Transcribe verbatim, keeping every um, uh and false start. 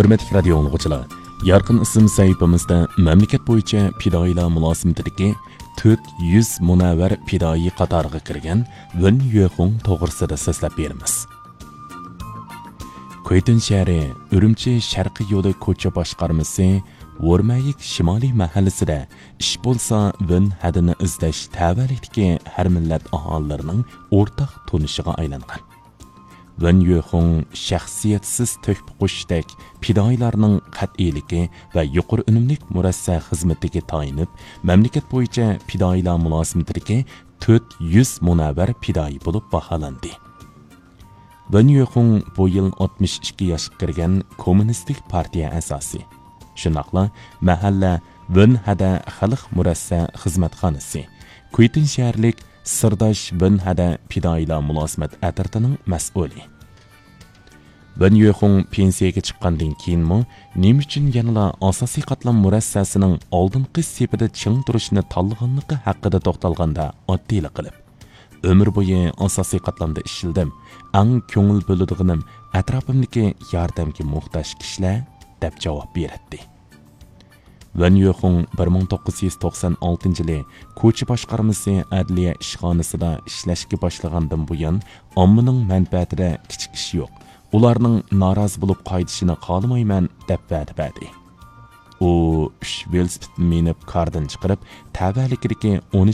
ھۆرمەتلىك رادىيو ئاڭلىغۇچىلار، يارقىن ئىسىم سەھىپىمىزدە مەملىكەت بويىچە پىدائىيلار مۇلازىمىتىدىكى تۆت يۈز مۇنەۋۋەر پىدائىي قاتارىغا كىرگەن ۋېن يۆخۇڭ توغرىسىدا سۆزلەپ بېرىمىز. كۇيتۇن شەھىرى ئۈرۈمچى شەرقىي يولى كوچا باشقارمىسى ۋورمەيىك شىمالىي مەھەللىسىدە ئىش بولسا ۋېن ھەدىنى ئىزدەش تەۋەلىكتىكى ھەر مىللەت ئاھالىلىرىنىڭ ئورتاق تونۇشىغا ئايلانغان. ۋېن يۆخۇڭ شەخسىيەتسىز تۆھپە قوشۇشتەك پىدائىيلارنىڭ قەتئىيلىكى ۋە يۇقىرى ئۈنۈملۈك مۇرەسسە خىزمىتىگە تايىنىپ، مەملىكەت بويىچە پىدائىيلار مۇلازىمىتىدىكى تۆت يۈز مۇنەۋۋەر پىدائىي بولۇپ باھالاندى. ۋېن يۆخۇڭ بۇ يىل ئاتمىش ئىككى ياشقا كىرگەن كوممۇنىستىك پارتىيە ئەزاسى. شۇنداقلا مەھەللە ۋېنھەدە خەلق مۇرەسسە خىزمەتخانىسى، كۇيتىن شەھەرلىك سىرداش ۋېنھەدە پىدائىيلار مۇلازىمەت ئەترىتىنىڭ مەسئۇلى. ۋېن يۆخۇڭ پېنسىيەگە چىققاندىن كېيىنمۇ نېمە ئۈچۈن يەنىلا ئاساسىي قاتلام مۇرەسسەسىنىڭ ئالدىنقى سېپىدە چىڭ تۇرۇشنى تاللىغانلىقى ھەققىدە توختالغاندا ئاددىيلا قىلىپ، ئۆمۈر بويى ئاساسىي قاتلامدا ئىشلىدىم، ئەڭ كۆڭۈل بۆلىدىغىنىم ئەتراپىمدىكى ياردەمگە موھتاج كىشىلەر، دەپ جاۋاب بېرەتتى. ۋېن يۆخۇڭ بىر مىڭ توققۇز يۈز توقسان ئالتىنچى يىلى كوچا باشقارمىسى ئەدلىيە ئىشخانىسىدا ئىشلەشكە باشلىغاندىن بۇيان، ئاممىنىڭ مەنپەئەتىدە كىچىك ئىش يوق. ئۇلارنىڭ نارازى بولۇپ قايتىشىنى خالىمايمەن، دەپ ۋەدە بەردى. ئۇ ئۈچ ۋېلىسىپىتنى مىنىپ كاردىن چىقىرىپ، تەۋەلىكىدىكى ئون